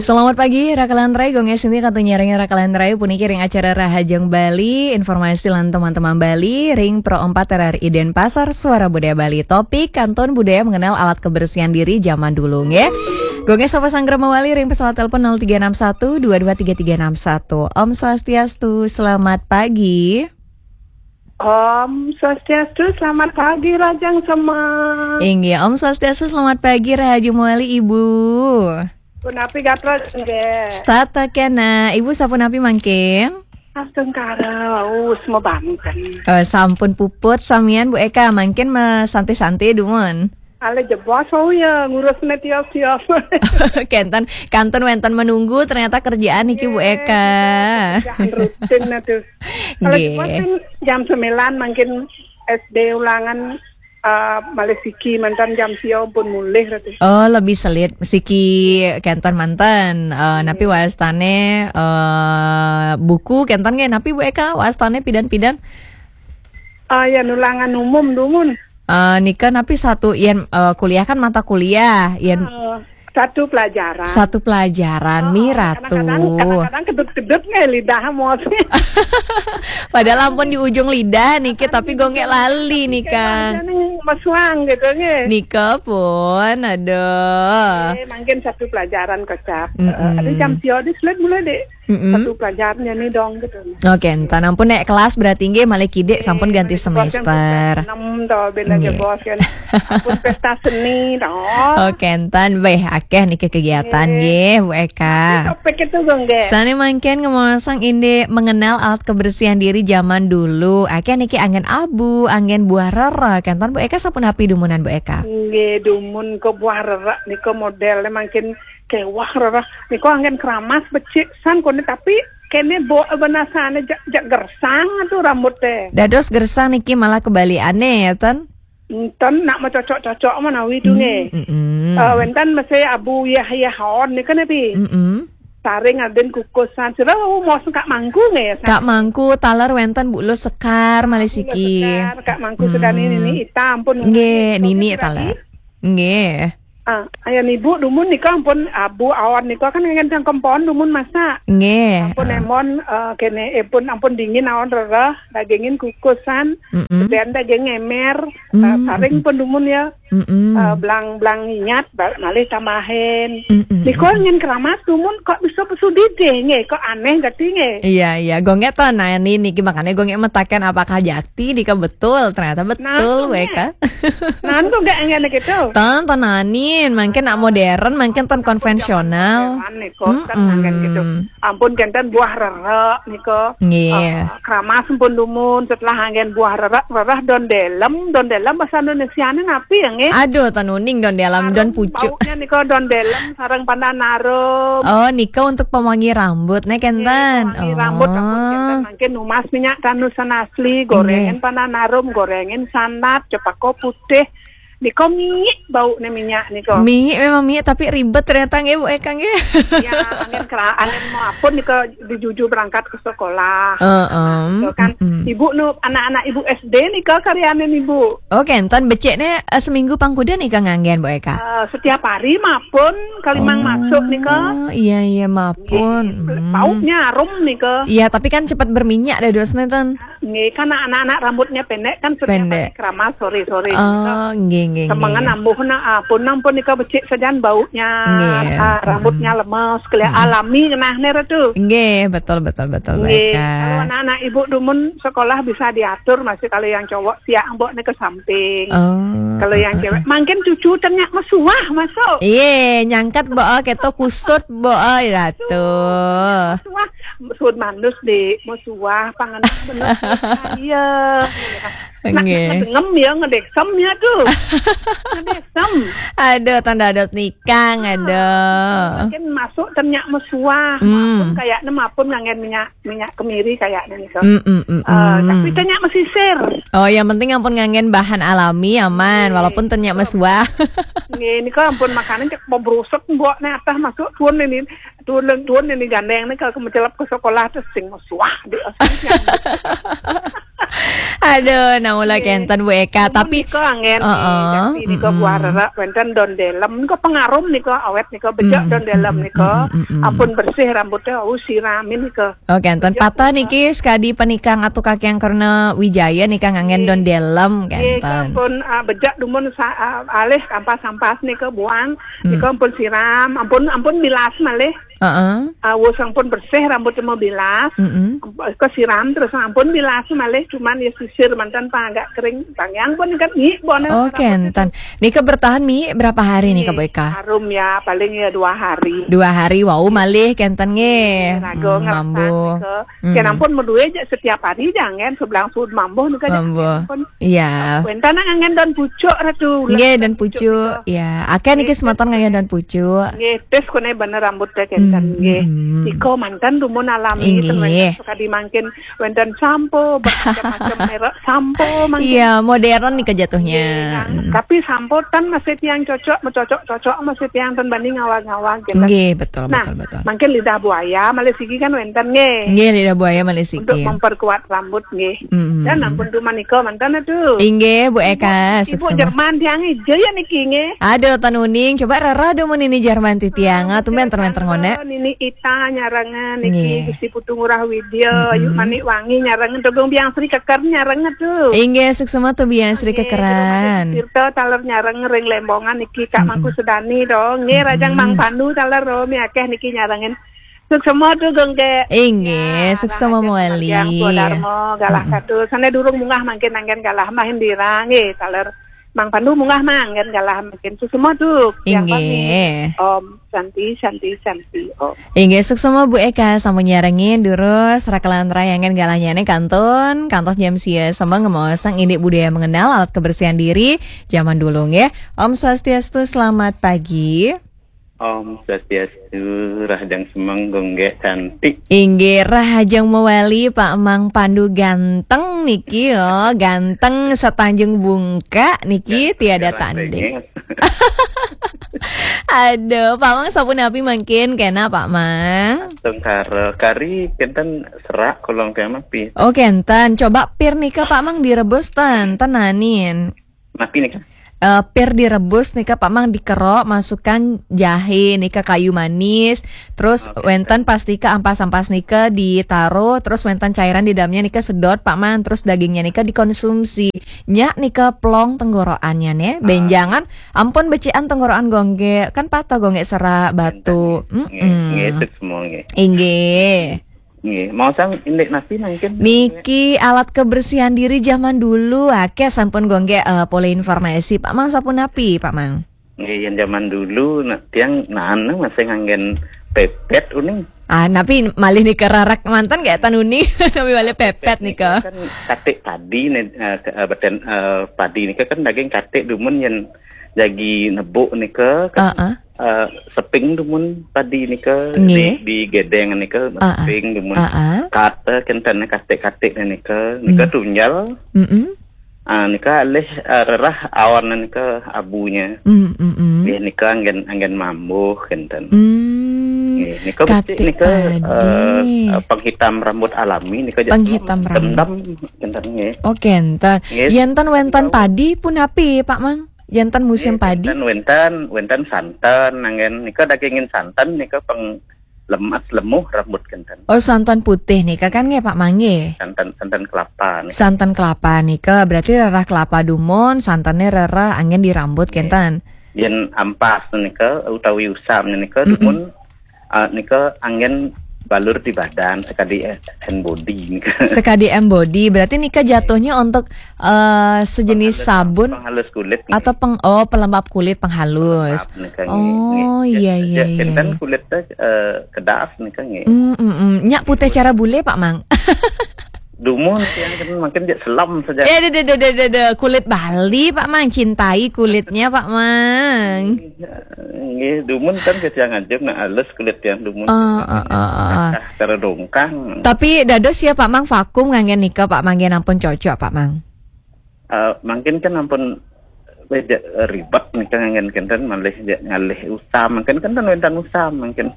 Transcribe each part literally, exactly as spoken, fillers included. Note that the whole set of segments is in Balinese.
Selamat pagi, Raka Lantrai. Gong S ini katanya ring Raka Lantrai puniki ring acara Rahajeng Bali, informasi lan teman-teman Bali, ring Pro empat R R I Denpasar, Suara Budaya Bali. Topik, kantun budaya mengenal alat kebersihan diri zaman dulu, nggih. Gong S sapa sanggra mawali ring pesawat telepon nol tiga enam satu dua dua tiga tiga enam satu. Om Swastiastu, selamat pagi. Om Swastiastu, selamat pagi, Rajang Semeng. Inggih, Om Swastiastu, selamat pagi, Rahayu mawali, Ibu. Punapi gatra, nggih? Tata kena, Ibu sapunapi mangkin? Astungkara, us, mabanten. Eh, sampun puput, samian Bu Eka, mangkin masantai-santai dumun. Ale jebos, oh ya, ngurus ne tiap-tiap. Kenten, kantun wenten menunggu, ternyata kerjaan niki Bu Eka. Kerjaan rutin aduh. Kalau Nggih. Jebos kan jam sembilan mangkin S D ulangan, eh, malih siki mantan jam sia pun mulih ratu. Oh, lebih selit siki kenten manten. Eh, napi wastane, eh, buku kenten nggih, napi Bu Eka wastane pidan-pidan? Ah, ya, nulangan umum dumun. Eh, nika napi satu yen, eh, kuliah kan mata kuliah, yen Eh, satu pelajaran. Satu pelajaran, Oh, mi ratu. Kadang-kadang, kadang-kadang kedut-kedut nggih lidah mos. Padahal ampun di ujung lidah niki, tapi gongek lali nika. Kadang-kadang mesuang gitu nggih. Nika pun, aduh. Eh, mungkin satu pelajaran kecap. Mm-mm. Eh, ada jam sia di slide mulai dek. Mm-mm. Satu pelajarannya nih dong gitu. Oke, entan ampun nek kelas berarti nggih malih kidik sampun ganti semester. Enam to bela Nggih. Jebos kan. Ampun pesta seni to. Oke, entan beh akeh niki kegiatan Nggih. Nggih, Bu Eka. Topik itu dong, nggih. Sane mangkin ngomong indik mengenal alat kebersihan diri zaman dulu. Akeh niki anggen abu, anggen buah rerek. Entan Bu Eka sapunapi dumunan Bu Eka? Nggih, dumun ke buah rerek nika model mangkin kewah rerek. Nika anggen keramas becik san kone tapi kene bo benasane jak, jak gersang tu rambut teh. Dados gersang niki malah kebalikane ya, Ten? Enten nak mau cocok-cocok menawi tu nggih. Mm-mm. Eh, wenten mesti abu yah-yah on nika napi? Mm-mm. Saring aden kukusan. Sira mau sengkak mangku nggih ya? Kak mangku taler wenten Bu Lo Sekar malih siki. Sekar, Kak mangku sedani Hmm. Nini Ita ampun Nggih, nggih, Nini nggih, taler. Nggih. Ah, ayan ibu dumun nika ampun abu awan nika kan ngen cangkem pohon dumun masak. Nggih. Ampun Ah. Emon, eh, kene epun ampun dingin awan rereh, dagingin kukusan, Mm-mm. kemudian daging emer, eh, Mm-mm. Saring pun dumun ya. Mm-mm. Eh, belang-belang inyat, bal-, malih tambahin. Mm-mm. Nika ngen keramat dumun kok bisa pesudidih nggih, kok aneh gati nggih. Iya, iya. Gongek to nani niki makanya gongek metaken apakah jati nika betul, ternyata betul Nah, weka. Nah, kok nggak ngene gitu. Ton, ton nani, mungkin nak modern, mungkin ton konvensional. Zaman nih, kok, kan Mm-mm. Ngangen gitu. Ampun kenten buah rerek nika. Nggih. Eh, keramas pun dumun setelah anggen buah rerek, rereh don delem, don delem bahasa Indonesiane napi ya nggih? Aduh, ton uning don delem, don pucuk. Baunya nika don delem sareng pandan arum. Oh, nika untuk pewangi rambut nih kenten. Nggih, pewangi rambut ampun kenten Oh. Mangkin numas minyak tanusan asli, Nggih. Gorengin pandan arum, gorengin sandat, cepako putih. Nika miik baune minyak nika. Miik memang miik, tapi ribet ternyata nggih, Bu Eka, nggih. Ya, angin kera-, angin mau apa nika dijuju berangkat ke sekolah. Heeh, Nika kan mm-mm. Ibu nu anak-anak ibu S D nika karyanin ibu. Oh, kenten becikne, eh, seminggu pangkuda nika nganggen, Bu Eka? Eh, setiap hari mapun kalimang Oh, masuk nika. Iya, iya, mapun. Nggih, Hmm. Baunya harum nika. Iya, tapi kan cepat berminyak dah dosne, Ten. Nggih, kan anak-anak rambutnya pendek kan setiap Pendek. Hari keramas sore-sore Oh, nika. Nggih, nggih, Semengan nggih. Ambuh na, ah, pun ampun nika becik sajan baunya. Nggih. Ah, rambutnya Hmm. Lemes, kelihatan Hmm. Alami ngenahne ratu. Nggih, betul, betul, betul, Nggih, Eka. Kalau anak-anak ibu dumun sekolah bisa diatur masih kalau yang cowok siang mbok ne ke samping. Oh, Kalau yang heeh, cewek, heeh. Mangkin cucu tenyak mesuah masuk. Iye, nyangkat mbok, oh, keto kusut mbok, oh, ratu. Mesuah, sun manus, Dik, mesuah, pangan bener. Iya. Nak, Nggih. Ngedengem ya, ngedeksem ya tuh. Ngedeksem. Aduh, tanda dot nikang, Ah, aduh. Mungkin masuk tenyak mesuah, Hmm. Mapun kayaknya mapun ngangen minyak minyak kemiri kayaknya nih, Kak. Mm, mm, mm, Eh, mm. Tapi tenyak mesisir. Oh, yang penting ampun nganggen bahan alami aman, Nggih. Walaupun tenyak mesuah. Nggih, ini kan ampun makanan cek mau brusek mbok nih atah masuk tuan ini. Tuan, tuan ini gandeng nih kalau mencelap ke sekolah terus sing mesuah di Aduh, nah mula kenten Bu Eka, tapi nika anggen, heeh, tapi nika buah rerak wenten don delem, nika pengarum nika awet nika bejak don delem nika. Ampun bersih rambutnya, au siramin nika. Oh, kenten. Patah niki sekadi penikang atau kaki yang karena Wijaya nika nganggen don delem, kenten. Ampun, ah, bejak dumun sa-, ah, alih kampas-kampas nika buang, nika ampun siram, ampun, ampun bilas malih. Heeh. Ah, wus ampun bersih rambut mau bilas. Mm-mm. Kesiram terus ampun bilas malih, cuman ya sisir mantan pang agak kering. Bang yang pun kan nyik bona. Oh, kenten. Nika bertahan mi berapa hari nih, Kak Boyka? Harum ya, paling ya dua hari. Dua hari, wau malih kenten nggih. Rago ngerasa mambu nika. Kena pun medue aja setiap hari jangan sebelang sud mambu nika. Mambu. Iya. Wenten anggen don pucuk ratu. Nggih, don pucuk. Ya, akeh niki semeton nganggen don pucuk. Nggih, tes kone bener rambut teh kenten nggih. Iko mantan dumun alami. Nggih. Suka dimangkin wenten sampo bermacam-macam merek sampo mangkin. Iya, modern nih kejatuhnya. Tapi sampo tan masih tiang cocok, mencocok-cocok masih tiang tan banding ngawag-ngawag gitu. Nggih, betul, nah, betul, betul. Mangkin lidah buaya malih sigi kan wenten nggih. Nggih, lidah buaya malih sigi. Untuk memperkuat rambut nggih. Dan ampun tuh manika mantan aduh. Inggih, Bu Eka, ibu Jerman tiang ijo ya niki nggih. Aduh, tan uning, coba rerah dumun nini Jerman titiang. Ah, tumben termen terngone. Nini Ita nyarangan niki, Gusti Putu Ngurah Widya, Yuk Manik Wangi nyarangan, Togong Biang Sri Keker nyarangan tuh. Inggih, suksema tuh Biang Sri Kekeran. Tirta taler nyarang ring Lembongan niki Kak Mangku Sedani dong. Nggih, Rajang Mang Pandu taler romi akeh niki nyarangan. Suksema tu Gongge. Inggih, suksema mawali. Yang Darmo galah kadu. Sana durung mungah mangkin anggen galah mahin dirang nggih taler Mang Pandu mungah mangkin galah mangkin. Suksema tu. Inggih. Om Santi, Santi, Santi, Om. Inggih, suksema Bu Eka sampun nyarengin durus rakelan rayangan galahnya ne kantun kantos jam sia sama ngemosang indik budaya mengenal alat kebersihan diri zaman dulu nggih. Om Swastiastu, selamat pagi. Om Swastiastu, rahajeng semeng Gongge cantik. Inggih, rahajeng mawali Pak Mang Pandu ganteng niki yo, ganteng setanjung bungka niki tiada tanding. Aduh, Pak Mang sapunapi mangkin kena Pak Mang? Tengkara kari kenten serak kolong tema pi. Oh kenten, coba pir nika Pak Mang direbus ten, tenanin. Napi nika? Eh, pir direbus nika Pak Mang dikerok, masukkan jahe nika kayu manis, terus wenten pastika ampas-ampas nika ditaruh, terus wenten cairan di dalamnya nika sedot Pak Mang, terus dagingnya nika dikonsumsi. Nyak nika plong tenggorokannya ne, benjangan ampun becikan tenggorokan Gongge, kan patah Gongge serak batu. Nggih, nggih, itu semua nggih. Inggih. Nggih, mau sang indik napi mangkin? Niki alat kebersihan diri zaman dulu, akeh sampun Gongge eh, polih informasi. Pak Mang sapunapi, Pak Mang? Nggih, yang zaman dulu nak tiang nana masih nganggen pepet uning. Ah, napi malih nika rarak mantan gak tan uning, napi malih pepet nika. Kan katik padi ne, eh, ke- eh, beten eh, padi nika kan daging katik dumun yang jagi nebuk nika kan. Heeh. Eh, seping dumun padi nika di, di gedeng nika seping dumun. Heeh. Kata kenten katik-katik nika, nika tunjal. Mm-mm. Ah, nika alih eh, rerah awan nika abunya. Mm, mm, mm. Nggih, nika anggen anggen mambuh kenten. Mm. Nggih, nika becik katik nika padi. Eh, eh, penghitam rambut alami nika. Penghitam rambut. Dendam kenten nggih. Oh kenten. Nggih. Yenten wenten padi punapi Pak Mang? Yenten musim padi? Wenten, wenten, wenten santan, anggen nika dagingin santan nika peng lemas lemuh rambut kenten. Oh, santan putih nika kan nggih Pak Mang nggih? Santan santan kelapa nika. Santan kelapa nika berarti rerah kelapa dumun, santannya rerah anggen di rambut kenten. Yen ampas nika utawi usam nika dumun ah, nika anggen balur di badan sekadi eh, hand body nika. Sekadi hand body, berarti nika jatuhnya untuk eh, sejenis sabun penghalus kulit nika. Atau peng oh pelembab kulit penghalus. Pelembab nika nggih. Oh iya iya iya. Kenten kulit teh eh, kedas nika nggih. Mm, mm, mm. Nyak putih cara bule Pak Mang. Dumun tiang kan mungkin dia selam saja. Eh, deh, deh, deh, deh, deh, deh. Kulit Bali, Pak Mang. Cintai kulitnya, Pak Mang. Nggih, dumun kan ke tiang aja nak halus kulit tiang dumun. Oh, oh, oh, oh. Cara dongkang. Tapi dados ya Pak Mang vakum nganggen nika Pak Mang nggih ampun cocok Pak Mang. Eh, mungkin kan ampun eh, ja-, ribet nika nganggen kenten, malih ja-, ngalih usam, mangkin kenten wénten usam, mangkin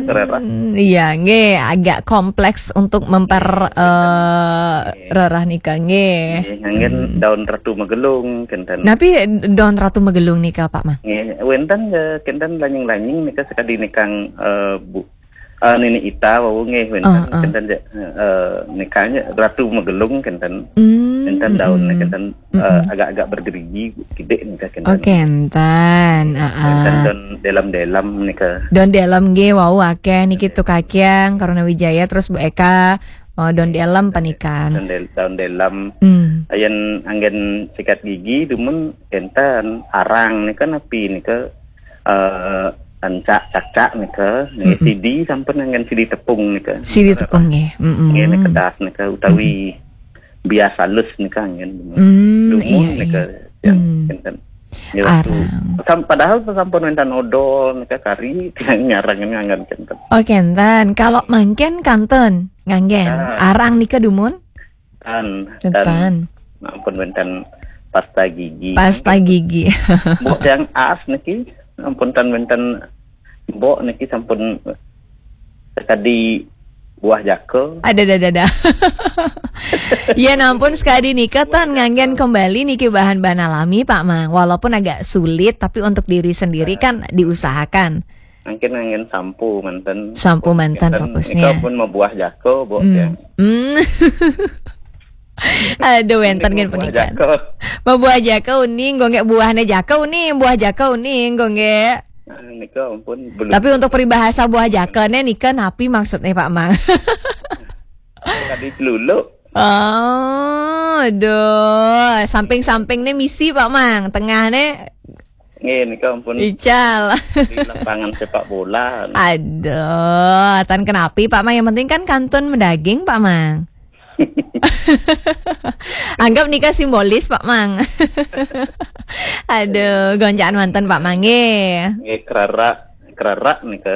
rerah. Hmm, iya, nggih, agak kompleks untuk memper eh, rerah nika, nggih. Nggih, nganggen daun ratu magelung kenten. Napi daun ratu magelung nika, Pak Mang? Nggih, wénten ja kenten lanying-lanying nika sakadi nikang, eh, bu, eh, nini ita wau nggih, wénten kenten ja, eh, nikanya ratu magelung kenten. Hmm, wénten daun kenten, eh, agak-agak bergerigi kidik nika kenten. Oh, kenten. Wénten daun delam-delam nika. Daun delam nggih wau akeh niki, Tukakyang, Karuna Wijaya, terus Bu Eka, oh, daun delam panikan. Daun del-, daun delam. Hmm. Ayen anggen sikat gigi dumun kenten, arang nika napi nika, eh, ancak cacak nika, nggih, sidi sampun anggen sidi tepung nika. Sidi tepung nggih. Mm-mm. Nggih, nika das nika utawi bias alus nika anggen. Hmm, dumun iya, nika, iya. Ya, hmm, kenten. Ya, arang. Sam-, padahal sampun wénten odol nika kari, tiang nyarang ini anggen kenten. Oh, kenten. Kalau mangkin kantun nganggen. Ah. Arang nika dumun? Tan, kenten. Ampun wénten pasta gigi. Pasta gigi. Mbok tiang as niki, ampun tan wénten mbok niki sampun sakadi buah jaka. Ada, ada, ada, ada. Ya, nampun sakadi nika tan nganggen kembali niki bahan-bahan alami, Pak Mang. Walaupun agak sulit, tapi untuk diri sendiri kan diusahakan. Mungkin nganggen sampo manten. Sampo manten fokusnya. Nika pun mabuah jaka, Mbok, hmm, ya. Hmm. Aduh, wénten kan panikan. Mabuah jaka uning, nggo nggih, buahnya jaka uning, buah jaka uning, nggo nggih. Ah, nika ampun, belum. Tapi untuk peribahasa buah jaka nih, nika napi maksudnya, Pak Mang? Tadi celuluk. Oh, aduh, samping-samping nih misi, Pak Mang, tengah nih. Nggih, nika ampun. Ical. Di lapangan sepak bola. Aduh, tan kenapi, Pak Mang. Yang penting kan kantun medaging, Pak Mang. Anggap nika simbolis, Pak Mang. Aduh, gonjakan manten, Pak Mang, nggih. Nggih, kerara, kerara nika,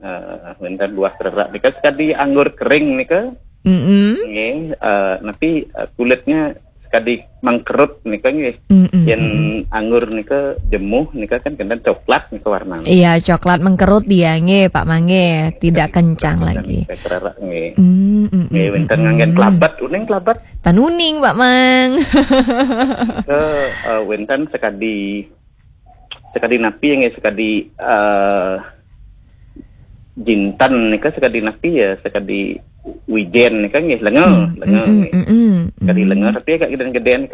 eh, wénten buah kerara nika sakadi anggur kering nika. Mm-mm. Nggih, eh, napi, eh, kulitnya sakadi mengkerut nika nggih. Mm-mm. Yén anggur nika jemuh nika kan kenten coklat nika warnanya. Iya, coklat mengkerut dia nggih, Pak Mang nggih, tidak kencang lagi. Kerara nggih. Mm, mm, nggih, mm, wénten nganggen kelabat, uning kelabat. Tan uning, Pak Mang. Ke, eh, wénten sakadi, sakadi napi nggih, sakadi, eh, jinten nika sakadi napi ya, sakadi wijén nika nggih, lenga, lenga nggih. Mm, mm, mm, mm. Sakadi lenga tapi agak gedén-gedén nika.